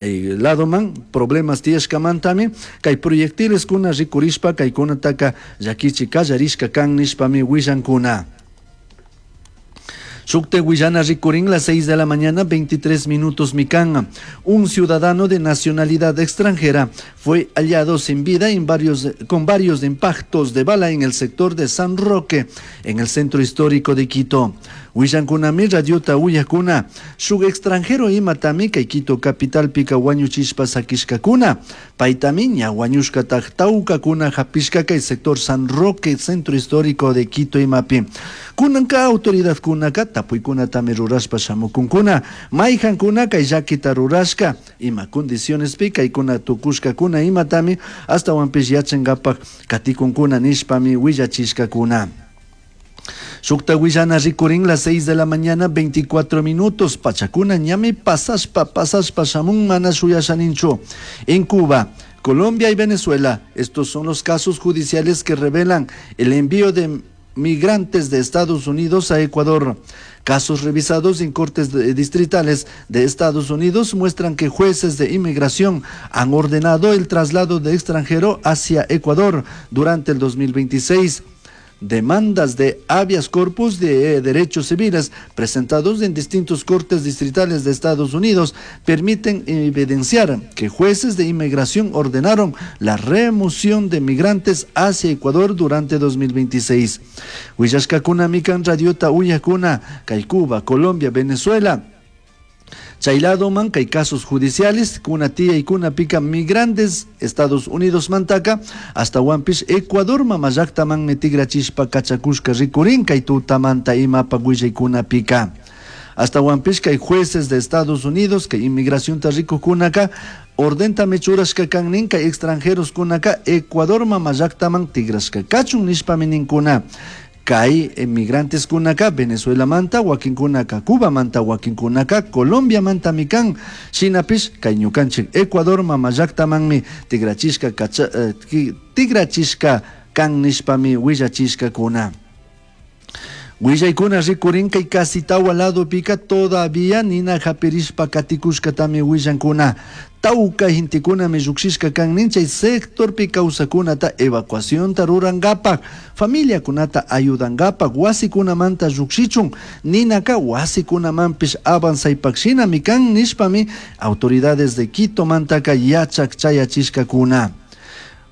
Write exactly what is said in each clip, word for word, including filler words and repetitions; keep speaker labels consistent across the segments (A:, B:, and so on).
A: Ladoman problemas tiyashkamantami kay proyectileskuna rikurishpa kaykunataka llakichi kallarishka kan nishpami willankuna. Shukte willana rikurin las seis de la mañana, veintitrés minutos mikan. Un ciudadano de nacionalidad extranjera fue hallado sin vida en varios, con varios impactos de bala en el sector de San Roque, en el centro histórico de Quito. Willankunami radiota uyakuna. Shuk extranjero imatami kay Quito capital pika wañuchishpa sakishkakuna. Paytami ña wañushkataj tawkakuna hapishka kay sector San Roque, centro histórico de Quito imapi. Kunanka autoridadkunaka tapuykunatami rurashpa shamukunkuna. Mayhankuna kay llakita rurashka ima condicionespi kaykuna tukushkakuna imatami astawanpish yachankapak katikunkuna nishpami willachishkakuna. Shukta willana rikurin las seis de la mañana, veinticuatro minutos. Pachakuna ñami pasashpa, pasashpa shamun mana shuyashaninchu. En Cuba, Colombia y Venezuela, estos son los casos judiciales que revelan el envío de migrantes de Estados Unidos a Ecuador. Casos revisados en cortes de, distritales de Estados Unidos muestran que jueces de inmigración han ordenado el traslado de extranjero hacia Ecuador durante el dos mil veintiséis. Demandas de habeas corpus de, eh, derechos civiles presentados en distintos cortes distritales de Estados Unidos permiten evidenciar que jueces de inmigración ordenaron la remoción de migrantes hacia Ecuador durante dos mil veintiséis. Huillashkakuna mikan radiota uyakuna, kay Cuba, Colombia, Venezuela. Chayladoman kay casos judiciales, kuna tía y kuna pica migrantes, Estados Unidos mantaka, hasta Huampish, Ecuador, mamallaktaman metigrachishpa kachakushka rikurin, kay tutamanta imapa kuna pica. Hasta Huampish kay jueces de Estados Unidos, kay inmigración tarrico kunaka, ordenta mechurashka kannin kay extranjeros kunaka, Ecuador mamallaktaman tigrashka kachun nishpa mininkuna. Kay emigrantes kunaka Venezuela manta, wakin kunaka Cuba manta, wakin kunaka Colombia manta mikan, shinapish kay ñukanchik Ecuador mamallaktamanmi tigrachishka kacha, eh, ki, tigrachishka kan nishpami willachishka kuna. Willaykuna rikurin kay casi tawa lado pika todavía nina hapirishpa katikushkatami willankuna. Tawka hintikunami llukshishka kan nin chay sectorpi kawsakunata evacuacionta rurankapak, familiakunata ayudankapak, wasikunamanta llukshichun, ninaka wasikunamanpish avanzaypakshinami kan nishpami autoridades de Quito mantaka yachak chayachishkakuna.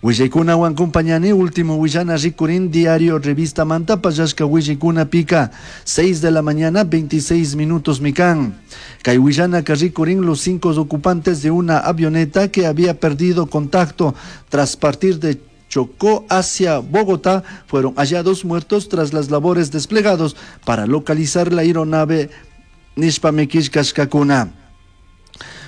A: Willaykunawan compañani último willana rikurin diario revista manta pallashka willaykuna pica seis de la mañana veintiséis minutos mikan. Kay willana ka rikurin los cinco ocupantes de una avioneta que había perdido contacto tras partir de Chocó hacia Bogotá fueron hallados muertos tras las labores desplegados para localizar la aeronave nishpamikishkashkakuna.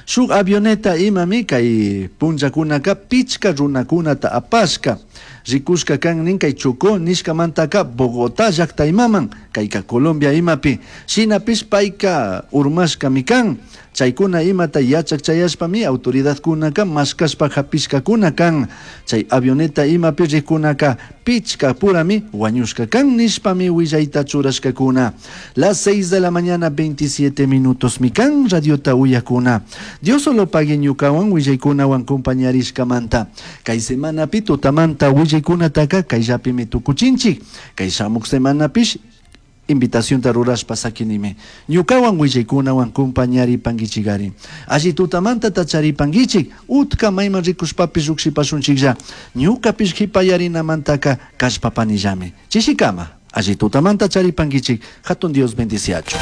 A: Shuk avioneta imami kay punllakunaka pichka runakunata apashka. Rikushka kan nin kay Chocó nishkamantaka Bogotá llaqta imaman, kayka Colombia imapi. Shinapish payka urmashkami kan. Chaykuna imata yachak chayashpami autoridadkunaka mashkashpa hapishkakuna kan. Chay avioneta imapi rikunaka pichka purami wañushka kan nishpami willayta churashkakuna. Las seis de la mañana veintisiete minutos mikan radiota uyakuna. Dios solo pague ñukawan willaykunawan compañarishkamanta. Kay semanapi tutamanta willaykunataka kayllapimi tukuchinchik. Kay shamuk semanapish invitación rurashpa sakinime. Ñukawan willaykunawan compañaripankichikari. Alli tutamanta tacharipankichik, utka mayman rikushpapish lluqshipashunchiklla. Ñukapish hipayarinamantaka kashpapanillami. Chishikama, alli tutamanta charipankichik, hatun Dios bendiciachu.